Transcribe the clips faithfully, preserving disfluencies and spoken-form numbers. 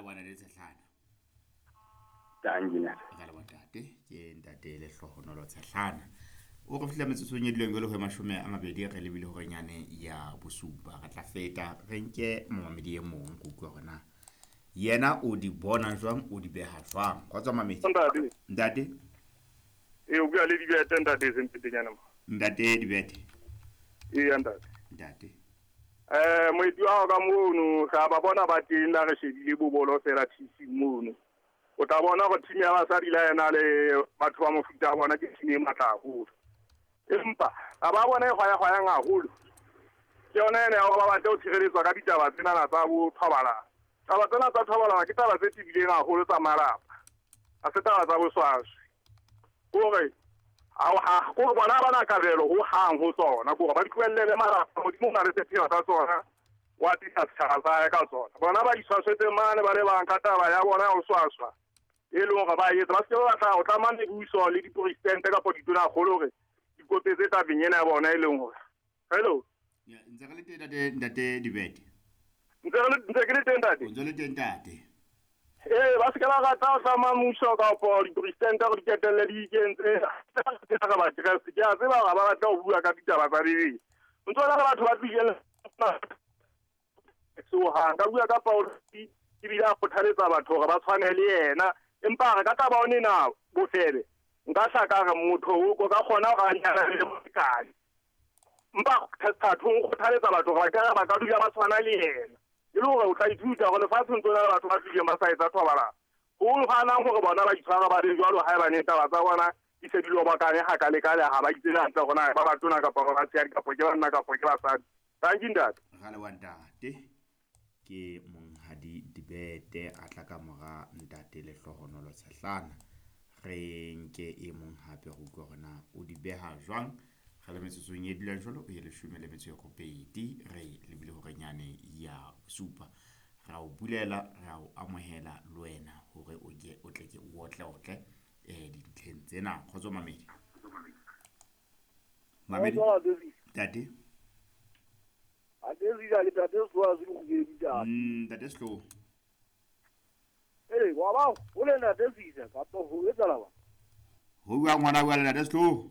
leboha ntate Tshehlana. Dankie ntate. Ra leboha ntate, ke ntate Lehlohonolo Tshehlana. O re fihla metsotsong e dileng jwale ho mashome a mabedi re lebile hore nyane ya bosupa. Re tla feta re nke momamedi e mong go utlwa hore na yena o di bona jwang, o di beha jwang. Kgotso mamedi. Ntate. Ntate. E o bua le Dibete ntate Sempetenyana mo. Ntate Dibete. Ee ntate. Ntate. Eh moeti wa ka mono ga ba bona ba teng la re shebile bobolo fela T C mono. O tla bona go team ya basadi la yena le batho ba mofuta bona ke team e matla haholo. Empa a ba bona e hwaya hwayang haholo. Ke yona ene ya hore ba batle ho tshireletswa ka ditaba tsena tsa bo thobalano. Taba tsena tsa thobalano ke taba tse tebileng haholo tsa malapa. Ha se taba tsa boswaswi. Hore ha ko bona bana kabelo ho hang ho tsona, gore ba di tlohelle malapa, Modimo o na le sepheo sa tsona, wa tlisa setjhaba sa hae ka tsona. Bona ba iswaswetse mane ba le bang ka taba ya bona ya ho swaswa. E leng hore ba etsa, ba se ke ba batla ho tlama mebuso le diporesidente kapa ditonakgolo hore di kopetse tabeng ena ya bona e leng hore. Hello. Ya, ntse re le teng ntate, ntate Dibete. Ntse re le, ntse ke le teng ntate. Ntse le teng ntate. Eh, ba se ke ba rata ho tlama mmuso kapa diporesidente hore di ketelle di ikentse. Re ba Kreste, ke a tseba hore ba batla ho bua ka ditaba tsa Bibele. Ntse le batho ba tlileng sohang ka bua ka Paulus ebile a kgothaletsa batho hore ba tshwane le yena. Empa re ka taba one na bofebe nka hlaka re motho o ka kgona hore a nyalane le molekane. Empa thathong o kgothaletsa batho hore ba ka ba ka dula ba tshwana le yena. E le hore o tla ithuta hore lefatsheng tsona le batho ba tlileng ba sa etsa thobalano. Ho hanang hore bona ba itshwara ba le jwalo haebane taba tsa bona di se di lobakane hakalekale ha ba itsebe hantle hore na ba batona kapa ba batshehadi kapa ke banna kapa ke basadi. Thank you ntate. Ra leboha ntate. Ke monghadi Dibete a tla ka mora ntate Lehlohonolo Tshehlana. Re nke e mong hape go utlwa hore na o di beha jwang. Re le metsotsong e dulang jwalo e leshome le metso e robedi re lebile hore nyane ya bosupa. Ra o bulela, ra o amohela le wena hore o ke o tle ke o otle otle eh dintlheng tsena. Kgotso mamedi. Mamedi. Ntate. Mm, ntate Sehloho. Eh, wa ba o le ntate Sisa kapa ho etsahala ba? Ho bua ngwana bua le ntate Sehloho.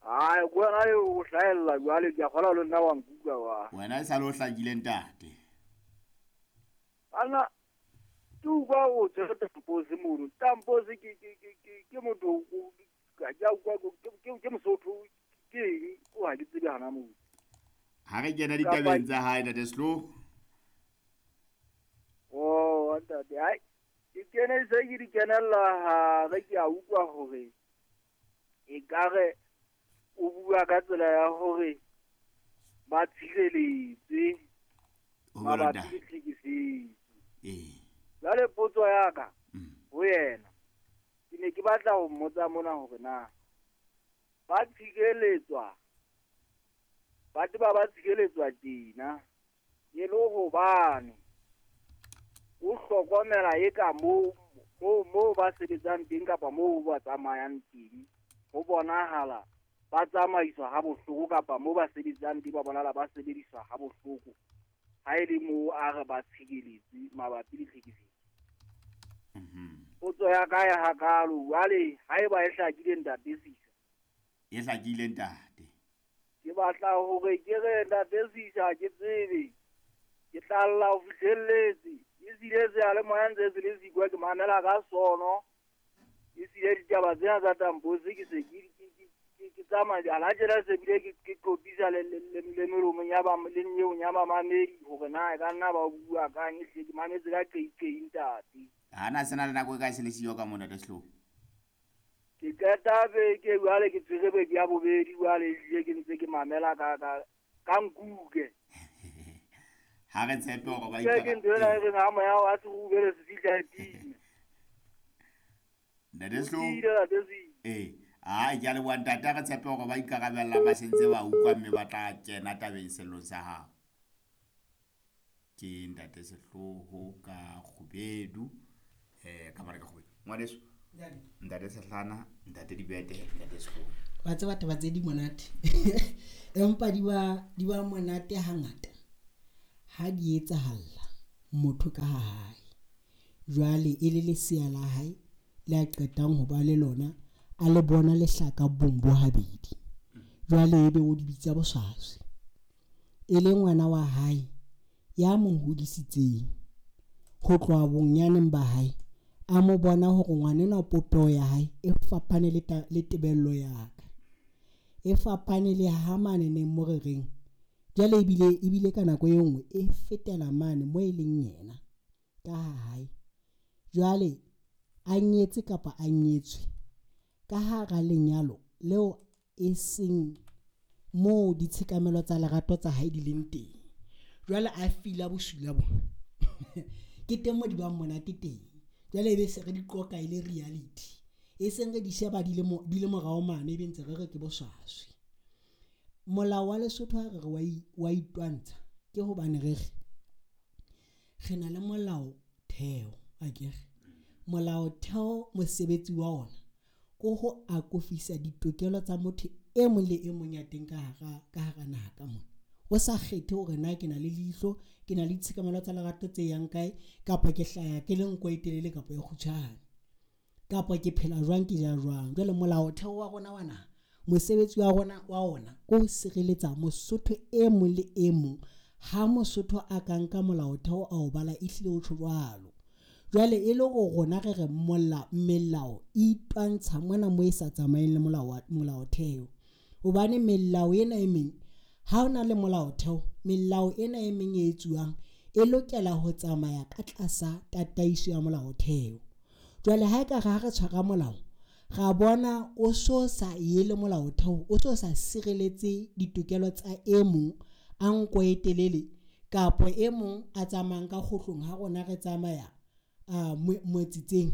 Ai, go na le o hlahella jwale ke a kgola le nna wa nkutlwa wa. Wena e sale o hlakile ntate. Ana tu kwa o tsere Tamposi mono. Tamposi ke ke ke ke ke motho o ka ja kwa ke ke ke Mosotho ke eng o ha ke tsebe hana moo. Ha re kena ditabeng tsa hae ntate Sehloho. Oh, ntate, ai ke kene se ke di kenella ha re ke a utlwa hore e ka re o bua ka tsela ya hore ba tshireletse mabapi le tlhekefetso. Eh. Jwale potso ya ka ho yena ke ne ke batla ho mmotsa mona hore na ba tshireletswa batho ba ba tshireletswa tjena e le hobane o hlokomela e ka moo moo moo ba sebetsang teng kapa moo ba tsamayang teng ho bonahala ba tsamaiswa ha bohloko kapa moo ba sebetsang teng ba bonahala ba sebediswa ha bohloko ha e le moo a re ba tshireletse mabapi le tlhekefetso. Mhm. Potso ya ka ya hakalo jwale haeba e hlakile ntate Sisa. E hlakile ntate. Ke batla hore ke re ntate Sisa ke tsebe ke tlalla ho fihlelletse e sile seyalemoya ntse se le sikwa ke mamela ka sono e sile ditaba tsena tsa Tamposi ke se ke ke ke tsamaya ala tjena se bile ke ke qopisa le le le melomong ya ba le nyeong ya mamamedi hore na e ka nna ba bua kang e hle ke mametse ka qeiqei ntate. Ha na sena le nako e kae se le siyo ka mona ntate Sehloho? Ke qeta beke jwale ke tshwere beke ya bobedi jwale ehlile ke ntse ke mamela ka ka ka nkuke. Ha re tshepe hore ba Ke ke ntho ena e reng ha moya wa serubele se fihla e pina. Ntate Sehloho. Ntate Sehloho. Eh, ai ke a leboha ntate, ha re tshepe hore ba ikarabella ba sentse ba utlwa mme ba tla kena tabeng sellong sa hao. Ke ntate Sehloho ka Kgubedu, eh ka mara ka Kgubedu. Ngwaneso. Ntate Sehlana, ntate Dibete, ntate Sehloho. Wa tseba taba tse di monate. Empa di ba di ba monate hangata. Ha di etsahalla motho ka hae. Jwale e le lesea la hae le a qetang ho ba le lona, a le bona lehlaka bong bo habedi. Jwale ebe o di bitsa boswaswi. E le ngwana wa hae ya mo hodisitseng ho tloha bonyaneng ba hae, a mo bona hore ngwana enwa popeho ya hae e fapane le le tebello ya ka. E fapane le ha mane neng mo re reng jwale ebile ebile ka nako e nngwe e fetela mane moo e leng yena ka ha hae. Jwale a nyetse kapa a nyetswe ka hara lenyalo leo e seng moo ditshekamelo tsa lerato tsa hae di leng teng. Jwale a feel-a bosula bona ke teng mo di bang monate teng. Jwale ebe se re di qoqa e le reality, e seng re di sheba di le di le morao mane, ebe ntse re re ke boswaswi. Molao wa Lesotho ha re re wa itwantsha ke hobane re re re na le molao theo akere. Molaotheo mosebetsi wa ona ke ho akofisa ditokelo tsa motho e mong le e mong ya teng ka hara ka hara naha ka mona. O sa kgethe hore na ke na le leihlo, ke na le ditshekamelo tsa lerato tse yang kae, kapa ke hlaya ke le nko e telele kapa e kgutshwane, kapa ke phela jwang, ke ja jwang. Jwale molaotheo wa rona wa naha, mosebetsi wa rona wa ona ke ho sireletsa Mosotho e mong le e mong. Ha Mosotho a ka nka molaotheo a o bala, ehlile o tjho jwalo. Jwale e le hore rona re re mola melao e itwantsha mona mo e sa tsamaeng le molao molaotheo. Hobane melao ena e meng ha hona le molaotheo, melao ena e meng e etsuwang e lokela ho tsamaya ka tlasa tataiso ya molaotheo. Jwale ha ekare ha re tshwara molao, ra bona o so sa ye le molaotheo, o so sa sireletse ditokelo tsa e mong a nko e telele kapa e mong a tsamayang ka kgohlong ha rona re tsamaya a motsitseng,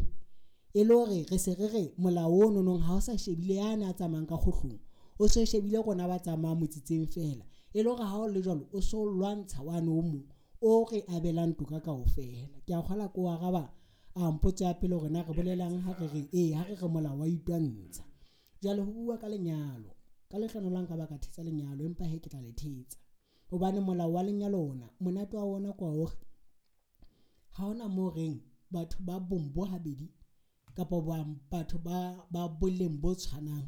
e le hore re se re re molao ono nong ha o sa shebile yane a tsamayang ka kgohlong, o so shebile rona ba tsamayang motsitseng feela. E le hore ha o le jwalo o so lwantsha wane o mong o re abelang toka kaofela. Ke a kgolwa ke o araba a mpotso ya pele hore na re bolelang ha re re ee ha re re molao wa itwantsha. Jwale ho bua ka lenyalo, ka lehlohonolo la nka ba ka thetsa lenyalo, empa hee ke tla le thetsa. Hobane molao wa lenyalo ona monate wa ona kwa hore ha hona moo reng batho ba bong bo habedi kapa batho ba ba boleng bo tshwanang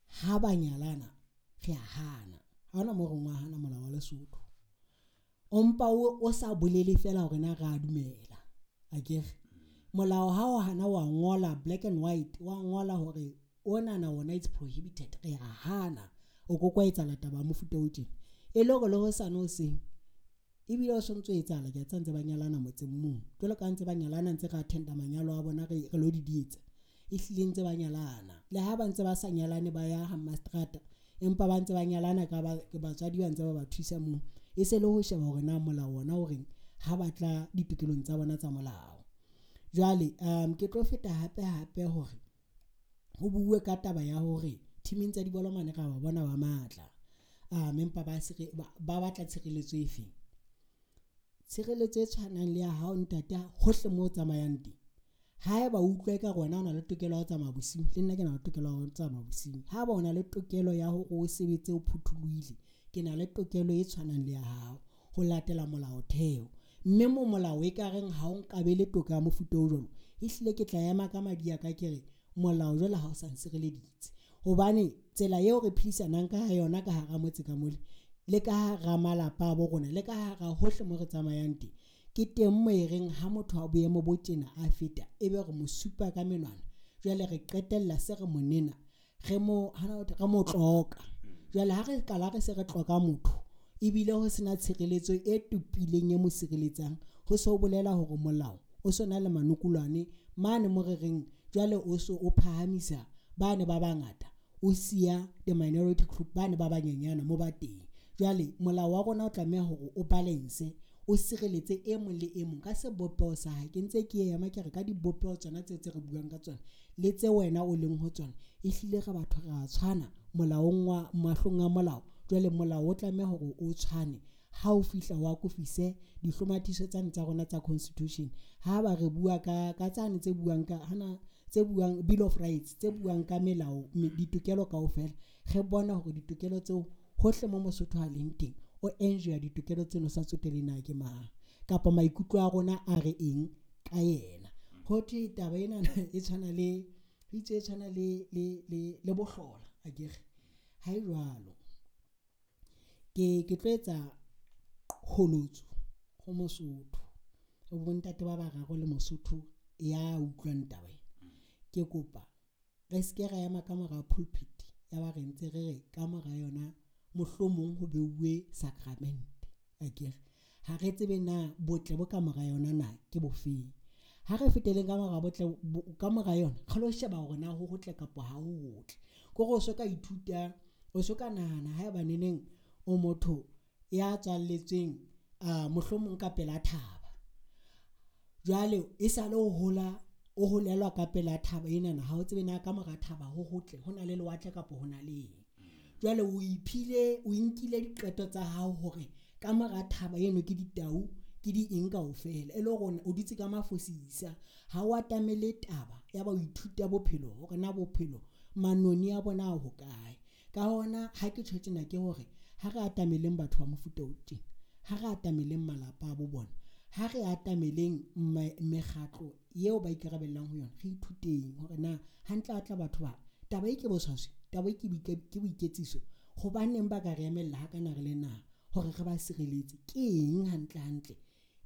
ha ba nyalana re a hana. Ha hona moo re wa hana molao wa Lesotho. O mpa o sa bolele feela hore na re a dumela akere. Molao ha o hana wa ngola black and white, wa ngola hore onana ona it's prohibited, re a hana. O ko kwa etsahala taba ya mofuta o tjena. E le hore le hosane hoseng ebile o sontso etsahala ke tsa ntse ba nyalana motseng mong. Jwalo ka ntse ba nyalana ntse re attenda manyalo a bona re re lo di dietsa. Ehlile ntse ba nyalana. Le ha ba ntse ba sa nyalane ba ya ha mastrata, empa ba ntse ba nyalana ka ba batswadi ba ntse ba ba thusa moo. E se le ho sheba hore na molao ona o reng ha batla ditokelong tsa bona tsa molao. Jwale um ke tlo feta hape hape hore ho bue ka taba ya hore teaming tsa dibolo mane ra ba bona ba matla. Um empa ba ba batla tshireletso efe? Tshireletso e tshwanang le ya hao ntate hohle moo o tsamayang teng. Haeba o utlwa eka rona o na le tokelo ya ho tsamaya bosiu, le nna ke na le tokelo ya ho tsamaya bosiu. Haeba o na le tokelo ya hore o sebetse o phuthulohile, ke na le tokelo e tshwanang le ya hao ho latela molaotheo. Mme mo molao e ka reng ha o nkabele toka ya mofuta o jwalo, ehlile ke tla ema ka madi a ka ke re molao jwale ha o sa nsireleditse. Hobane tsela eo re phedisanang ka yona ka hara motse ka mole le ka hara malapa a bo rona le ka hara hohle mo re tsamayang teng, ke teng mo e reng ha motho a boemo bo tjena a feta ebe re mo supa ka menwana. Jwale re qetella se re monena re mo re mo tloka. Jwale ha re qala re se re tloka motho ebile ho sena tshireletso e topileng e mo sireletsang, ho so bolela hore molao o sona le manokolwane mane mo re reng jwale o so o phahamisa bane ba bangata, o siya the minority group bane ba banyenyana mo ba teng. Jwale molao wa rona o tlameha hore o balance, o sireletse e mong le e mong ka sebopeho sa hae. Ke ntse ke ema ke re ka dibopeho tsona tse tse re buang ka tsona le tse wena o leng ho tsona, ehlile re batho re a tshwana molaong wa mahlong a molao. Jwale molao o tlameha hore o tshwane ha o fihla wa akofise dihlomathiso tsane tsa rona tsa constitution. Ha ba re bua ka ka tsane tse buang ka hana tse buang Bill of Rights tse buang ka melao ditokelo kaofela, re bona hore ditokelo tseo hohle mo Mosotho a leng teng o enjoy ditokelo tseno sa tsotelle na ke mang kapa maikutlo a rona a re eng ka ka yena. Ho thwe taba ena e tshwana le itse e tshwana le le le le bohlola akere. Ha e jwalo. Ke ke tlo etsa kgolotso ho Mosotho. O bontate ba bararo le Mosotho ya utlwang taba ena. Ke kopa re ske ra ema ka mora pulpit ya ba re ntse re re ka mora yona mohlomong ho beuwe sacrament akere. Ha re tsebe na botle bo ka mora yona na ke bofeng. Ha re feteleng ka mora botle ka mora yona re lo sheba hore na ho hotle kapa ha ho hotle. Ke hore o so ka ithuta, o so ka nahana haeba neneng o motho ya tswalletsweng a mohlomong ka pela thaba. Jwale e sale o hola o holelwa ka pela thaba enana, ha o tsebe na ka mora thaba ho hotle ho na le lewatle kapa ho na le eng. Jwale o iphile o inkile diqeto tsa hao hore ka mora thaba eno ke ditau ke di eng kaofela, e le hore o dutse ka mafosisa. Ha o atamele taba ya ba o ithuta bophelo hore na bophelo manoni a bona a hokae. Ka hona ha ke tjho tjena ke hore ha re atameleng batho ba mofuta o tjena, ha re atameleng malapa a bo bona, ha re atameleng mekgatlo eo ba ikarabellang ho yona, re ithuteng hore na hantle atla batho ba taba e ke boswaswi, taba e ke ke boiketsiso, hobaneng ba ka re emella ha kana re le naha hore re ba sireletse. Ke eng hantle hantle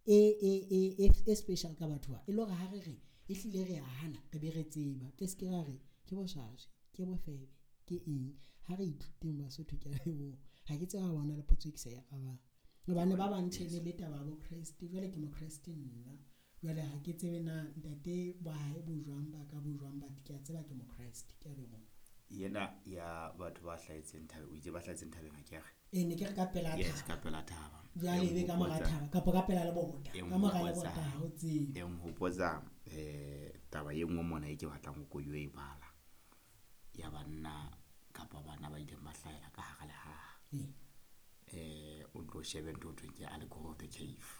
e e e e special ka batho ba e le hore ha re re e hlile re a hana re be re tseba, ke se ke ra re ke boswaswi, ke bofebe, ke eng. Ha re ithuteng Basotho, ke a leboha. Ha ke tseba bona le potso e ke sa e arabang hobane ba bang tjhe le taba ya bo Kreste. Jwale ke mo Kreste nna, jwale ha ke tsebe na ntate ba hae bo jwang ba ka bo jwang, but ke a tseba ke mo Kreste. Ke a leboha. Yena ya batho ba hlahetseng thabeng, o itse ba hlahetseng thabeng ha ke re? E ne ke re ka pela thaba. Yes, ka pela thaba. Jwale ebe ka mora thaba kapa ka pela lebota. Ka mora lebota ha o tsebe. E nhopotsa eh taba e nngwe mona e ke batlang ho ko e bala. Ya banna kapa bana ba ileng ba hlahela ka hara lehaha. Eh o tlo shebe ntho thweng ke Allegory of the Cave.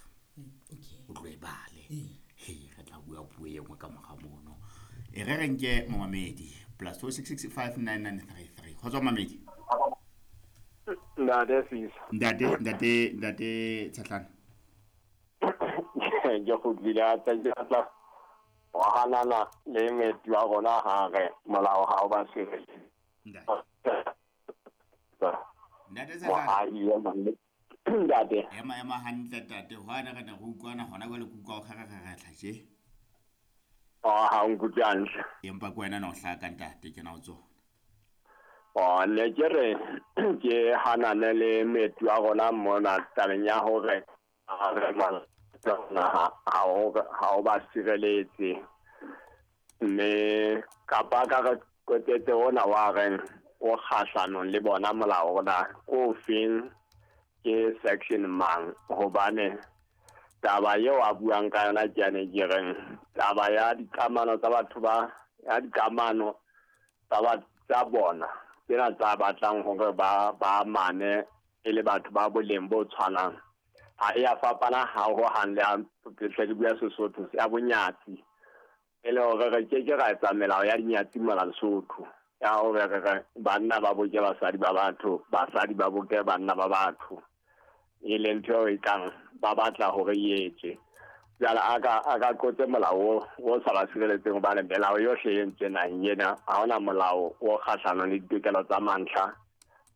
Okay. O tlo e bale. He re tla bua puo e nngwe ka mora mono. E re re nke momamedi plus two six six five nine nine three three. Kgotso mamedi. Ntate Sisa. Ntate ntate ntate Tshatlana. Ke kgutlile a tsa ke tla wa hanana le metsi wa rona ha re molao ha o ba sireletse. Ntate. Ntate Tshatlana. Ntate. Ema ema hantle ntate, hwana re ne re utlwana hona jwale ke utlwa o kgarakgaratla tje. Oh, ha o nkutlwe hantle. Empa ke wena no hlaka ntate, ke na o tsona. Oh, ne ke re ke hanane le metsi wa rona mona tabeng ya hore ha re ha ha o ba sireletse. Mme kapa ka re kotetse ona wa reng o kgahlanong le bona molao ona ko feng ke section mang, hobane taba eo a buang ka yona ke yane ke reng taba ya dikamano tsa batho ba ya dikamano tsa ba tsa bona tsena tsa batlang hore ba ba mane e le batho ba boleng bo tshwanang ha e a fapana ha ho hang le a tle ke bua Sesotho ya bonyatsi e le hore re ke ke ra etsa melao ya dinyatsi mona Lesotho ya hore re banna ba boke basadi ba batho, basadi ba boke banna ba batho, e leng ntho e kang ba batla hore e etswe. Jwale a ka a ka qotse molao o sa ba sireletseng hobane melao yohle e entswe naheng ena, ha hona molao o kgahlanong le ditokelo tsa mantlha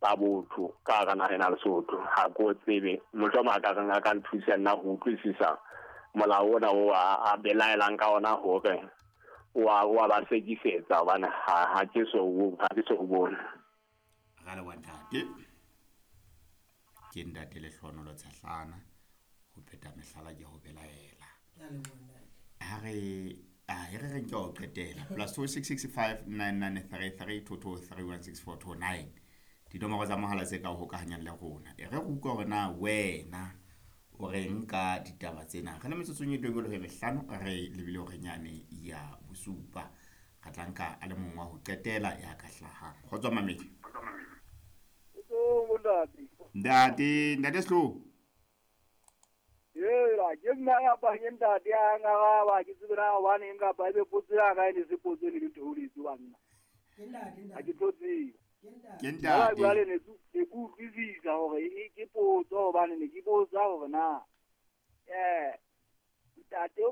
tsa botho ka hara naha ena Lesotho. Ha ke o tsebe, mohlomong a ka reng a ka nthusa nna ho utlwisisa molao ona o a belaelang ka ona hore wa wa ba sekisetsa hobane ha ha ke so ha ke so bone. Ra leboha ntate. Ke ntate Lehlohonolo Tshahlana ho pheta mehlala ke ho belaela. Ha re a re re nke ho qetela plus two six six five nine nine three three two two three one six four two nine. Dinomoro tsa mohala tse ka hokahanyang le rona. E re re utlwa hore na wena o reng ka ditaba tsena. Re le metsotsong e twenty le mehlano re lebile hore nyane ya bosupa. Re tla nka a le mong wa ho qetela ya ka hlahang. Kgotso mamedi. Ntate, ntate Slo. Yela, ke nna ya ba ke ntate ya ngaraba ke tsebe na hobane nka ba be potso ya ka e ne se potso le ditholetse banna. Ke ntate, Ha ke tlo tseba. Ke ntate. Jwale ne ke utlwisisa hore e ke potso hobane ne ke botsa hore na eh ntate